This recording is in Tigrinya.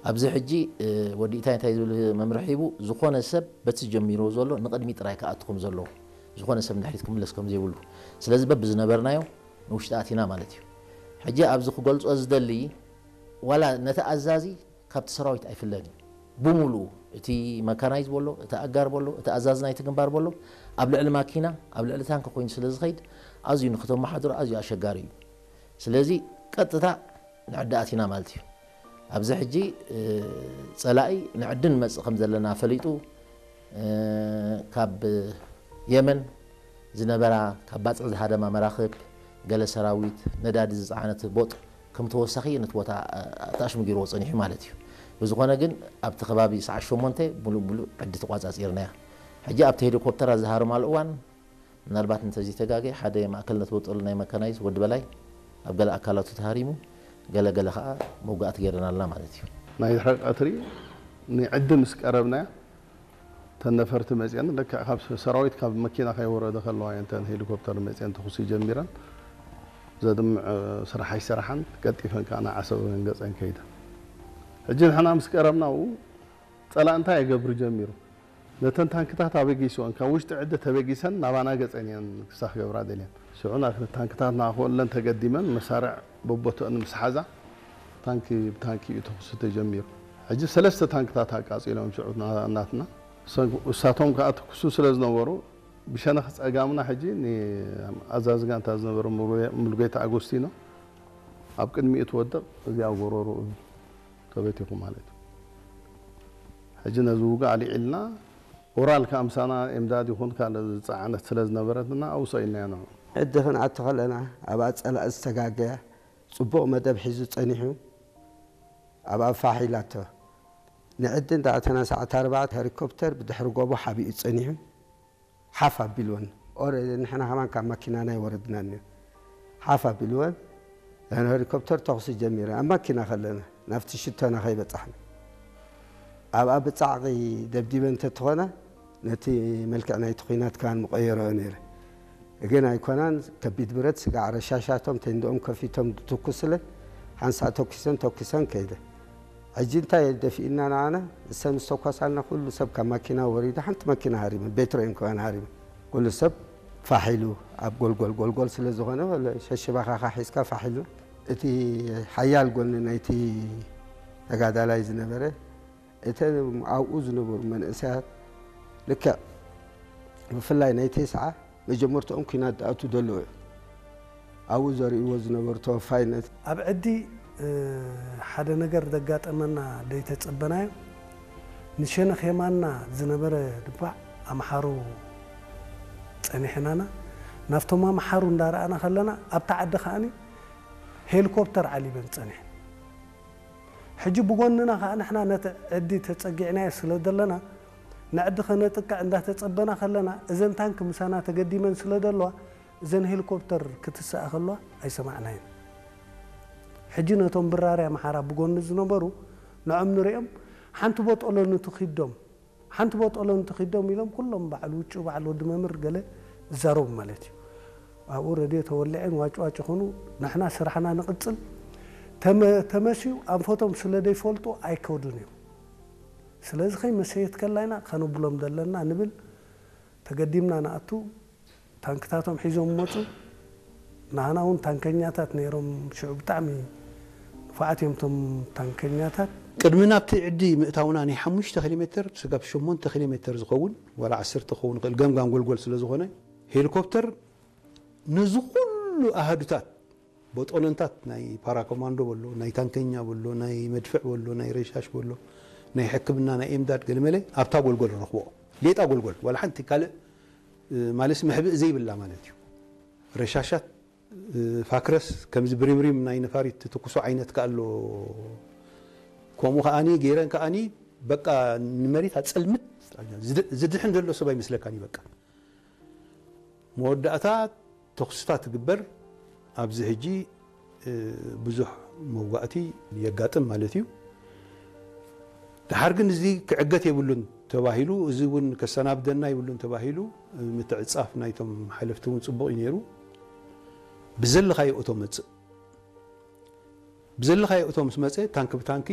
ኣብዚ ሕጂ ወዲ ኢታይ እንታይ ዝብል መምርሒ ሂቡ፣ ዝኾነ ሰብ በቲ ጀሚርዎ ዘሎ ንቕድሚ ጥራይ ክኣቱ ከም ዘለዎ፣ ዝኾነ ሰብ ንድሕሪት ክምለስ ከም ዘይብሉ። ስለዚ በብዝነበርናዮ ንውሽጢ ኣቲና ማለት እዩ። ሕጂ ኣብዚ ክገልጾ ዝደሊ፣ ዋላ ነቲ ኣዛዚ ካብቲ ሰራዊት ኣይፍለን እዩ። ብምሉኡ እቲ መካናይዝ በሎ፣ እቲ ኣጋር በሎ፣ እቲ ኣዛዚ ናይቲ ግንባር በሎ፣ ኣብ ልዕሊ ማኪና፣ ኣብ ልዕሊ ታንኪ ኮይኑ ስለ ዝኸይድ፣ ኣዝዩ ንክተመሓድሮ ኣዝዩ ኣሸጋሪ እዩ። ስለዚ ቀጥታ ንዕዲ ኣቲና ማለት እዩ። ኣብዚ ሕጂ ጸላኢ ንዕዲ ንመጽእ ከም ዘለና ፈሊጡ፣ ካብ የመን ዝነበራ ካብ ባጽዕ ዝሃደማ መራኽብ፣ ገለ ሰራዊት፣ ነዳዲ ዝጸዓነት ቦጥ ከም ተወሳኺ ነቲ ቦታ ኣታሽሙ ገይርዎ ጸኒሑ ማለት እዩ። ብዝኾነ ግን ኣብቲ ከባቢ ሰዓት ሸሞንተ ሙሉእ ሙሉእ ዕዲ ተቋጻጺርናያ። ሕጂ ኣብቲ ሄሊኮፕተራት ዝሃረማሉ እዋን ምናልባት እንተዘይተጋገ ሓደ ማእከል ነቲ ቦጦሎ ናይ መካናይዝ ወዲ በላይ ኣብ ገለ ኣካላቱ ተሃሪሙ፣ ገለ ገለ ኸኣ መውጋእቲ ገይረናልና ማለት እዩ። ናይ ድሕሪ ቀትሪ ንዕዲ ምስ ቀረብናያ፣ እተን ነፈርቲ መጺአን፣ ልክዕ ካብ ሰራዊት ካብ መኪና ከይወረደ ከለዋ እየን እተን ሄሊኮፕተር መጺአን ተኹሲ ጀሚረን። ዘድምዕ ስራሕ ኣይሰራሓን፣ ቀልጢፈን ከኣ ንዓሰብ ገጸን ከይደን። ሕጂ ንሕና ምስ ቀረብና፣ ኣብኡ ጸላእ እንታይ የገብር ጀሚሩ? ነተን ታንክታት ኣበጊስወን፣ ካብ ውሽጢ ዕዲ ተበጊሰን ናባና ገጸን እየን ክሳ ክገብራ ደልየን። ሽዑ ና-፣ ታንክታት ንኣኽበለን ተገዲመን፣ መሳርዕ በቦተአን ምስ ሓዛ፣ ታንኪ ብታንኪ እዩ ተኹሲ ተጀሚሩ። ሕጂ ሰለስተ ታንክታት ኣቃጺሎም ሽዑ ና-፣ ናትና። እሶ-፣ እሳቶም ከኣ ትኩሱ ስለ ዝነበሩ፣ ብሸነኽ ጸጋምና ሕጂ ንኣዛዚ ጋንታ ዝነበረ ሙሉጌ-፣ ሙሉጌታ ኣጎስቲኖ ኣብ ቅድሚኡ ትወድቕ፣ እዚኣ ጎረርኡ ተበቲኹ ማለት እዩ። ሕጂ ነዚ ውግእ ኣልዒልና፣ ኦራል ከኣ ምሳና ኤምዳድ ይኹን ካልእ ዝጸዓነት ስለ ዝነበረትና፣ ኣብኡ ሰኢልናዮ ንዑ። ዕዲ ክንኣቱ ከለና፣ ኣብኣ ጸላኢ ዝተጋገያ፣ ጽቡቕ መደብ ሒዙ ጸኒሑ፣ ኣብኣ ፋሕ ኢላቶ። ንዕዲ እንዳኣተና ሰዓት ኣርባዕተ ሄሊኮፕተር ብድሕሪ ጎቦ ሓቢኡ ጸኒሑ፣ ሓፍ ኣቢልወን። ኦረ-፣ ንሕና ከማን ካብ ማኪናና ኣይወረድናን እዩ። ሓፍ ኣቢልወን፣ እተን ሄሊኮፕተር ተኹሲ ጀሚረን። ኣብ ማኪና ከለና፣ ናብቲ ሽቶና ከይበጻሕና። ኣብኣ ብጻዕቒ ደብዲበን እንተትኾና፣ ነቲ መልክዕ ናይቲ ኲናት ከማን ምቐየረኦ ነይረ። ግን ኣይኮናን፣ ከቢድ ብረት ስጋዕ ረሻሻቶም ቴንድኦም ከፊቶም ዝትኩስለን፣ ሓንሳእ ተኩሰን፣ ተኩሰን ከይደ። ሕጂ እንታይ ደፊእና ንዓና? እሰን ዝተኮሳልና ኩሉ ሰብ ካብ ማኪና ወሪዱ፣ ሓንቲ ማኪና ሃሪመ፣ ቤትሮ እየን ከማን ሃሪመ። ኩሉ ሰብ ፋሕ ኢሉ ኣብ ጎልጎል፣ ጎልጎል ስለ ዝኾነ፣ ወለ ሸሽባኻኻ ሒዝካ ፋሕ ኢሉ። እቲ ሓያል ጎኒ ናይቲ ተጋዳላይ ዝነበረ፣ እተን ኣብኡ ዝነበሩ መንእሰያት፣ ልክዕ ብፍላይ ናይ ቴስዓ መጀመርትኦም ኲናት ዝኣቱ ዘለዉ እዮም። ኣብኡ ዘርእይዎ ዝነበሩ ተወፋይነት። ኣብ ዕዲ፣ እ፣ ሓደ ነገር ዘጋጠመና ዘይተጸበናዮ፣ ንሸነኽ የማንና ዝነበረ ድባዕ ኣምሓሩ ጸኒሕናና፣ ናብቶም ኣምሓሩ እንዳረኣና ከለና፣ ኣብታ ዓዲ ከኣኒ ሄሊኮፕተር ዓሊበን ጸኒሐን። ሕጂ ብጎንና ከኣ ንሕና ነቲ ዕዲ ተጸጊዕናዮ ስለ ዘለና፣ ንዕዲ ከነጥቅዕ እንዳተጸበና ከለና፣ እዘን ታንክ ምሳና ተገዲመን ስለ ዘለዋ፣ እዘን ሄሊኮፕተር ክትስኣ ከለዋ ኣይሰማዕናየን። ሕጂ ነቶም ብራሪ ኣምሓራ ብጎኒ ዝነበሩ ንዖም ንሪኦም፣ ሓንቲ ቦጦሎ ንትኺዶም፣ ሓንቲ ቦጦሎ ንትኺዶም ኢሎም ኩሎም በዓል ውጩ፣ በዓል ወዲ መምህር ገለ ዝዛረቡ ማለት እዩ። ኣብኡ ረድዮ ተወሊዐን ዋጭ ዋጭ ይኹኑ፣ ንሕና ስራሕና ንቕጽል። ተመ-፣ ተመስዩ ኣንፈቶም ስለ ዘይፈልጡ ኣይከዱን እዮም። ስለዚ ከይመሰየት ከላይና ከነብሎም ዘለና ንብል፣ ተገዲምና ንኣቱ። ታንክታቶም ሒዞም መጹ። ንዓና እውን ታንከኛታት ነይሮም። ሽዑ ብጣዕሚ ንፉዓት እዮም እቶም ታንከኛታት። ቅድሚ ናብቲ ዕዲ ምእታውና ናይ ሓሙሽተ ኪሎ ሜትር ስጋብ ሸሞንተ ኪሎ ሜትር ዝኸውን፣ ዋላ ዓሰርተ ክኸውን ይኽእል፣ ገምጋም ጎልጎል ስለ ዝኾነ፣ ሄሊኮፕተር ነዚ ኩሉ ኣሃዱታት፣ ቦጦለንታት ናይ ፓራኮማንዶ በሎ፣ ናይ ታንከኛ በሎ፣ ናይ መድፍዕ በሎ፣ ናይ ረሻሽ በሎ፣ ናይ ሕክምና፣ ናይ ኤምዳድ ገለመለ ኣብታ ጎልጎል ረኽቦ። ሌጣ ጎልጎል፣ ዋላ ሓንቲ ካልእ፣ እ፣ ማለት መሕብእ ዘይብላ ማለት እዩ። ረሻሻት፣ እ፣ ፋክረስ፣ ከምዚ ብሪምሪም ናይ ነፋሪት ትትኩሶ ዓይነት ከኣ ኣሎ። ከምኡ ከኣኒ ገይረን ከኣኒ በቃ ንመሬት ኣጸልምት፣ ዝድ-፣ ዝድሕን ዘሎ ሰብ ኣይመስለካን እዩ በቃ። መወዳእታ ተኹስታት ትግበር። ኣብዚ ሕጂ፣ እ፣ ብዙሕ መዋእቲ የጋጥም ማለት እዩ። ደሓር ግን እዚ ክዕገት የብሉን ተባሂሉ፣ እዚ እውን ከሰናብደና የብሉን ተባሂሉ፣ እ፣ ምትዕጻፍ ናይቶም ሓለፍቲ እውን ጽቡቕ እዩ ነይሩ። ብዘለኻዮ እቶ መጽእ። ብዘለኻዮ እቶ ምስ መጸ፣ ታንኪ ብታንኪ